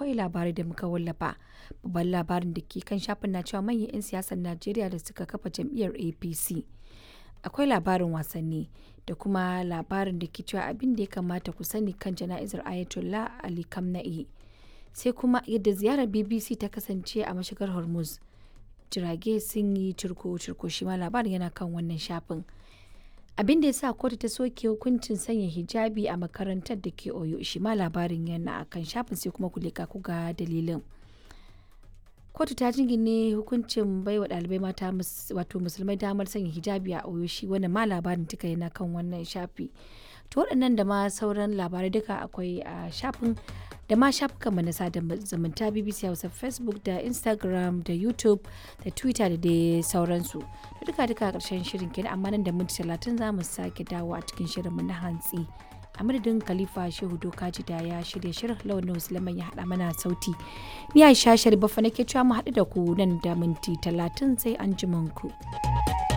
akwai labarai da muka wallafa. Babban labarin da ke kan shafin na cewa manyan 'yan siyasar Najeriya da suka kafa jam'iyyar APC. Akwai labarin wasanni da kuma labarin da ke cewa abin da ya kamata ku sani kan jana'izar Ayatollah Ali Khamenei. Sai kuma yadda ziyarar BBC ta kasance a mashigar Hormuz. Jirage sun yi cirko-cirko, shi ma labarin yana kan wannan shafin. Abin da ya sa kotu ta soke hukuncin sanya hijabi a makarantar da ke Oyo, shi ma labarin yana a kan shafin, sai kuma ku leka ku ga dalilin. Kotu ta jingine hukuncin baiwa ɗalibai mata, wato musulmai, damar sanya hijabi a Oyo, shi wannan ma labarin duka yana kan wannan shafi. To, waɗannan da ma sauran labarai duka akwai a shafin da ma shafukanmu na sada zumunta, BBC Hausa, Facebook da Instagram da YouTube da Twitter da dai sauransu. Da duka duka karshen shirin kenan, amma nan da minti 30 za mu sake dawo a cikin shirinmu na hantsi. A madadin Khalifa Shehu Dokaji da ya shirya shirin, Lawan Musulman ya haɗa mana sauti. Ni Aisha Sharif nake cewa mu haɗu da ku nan da minti 30, sai an ku.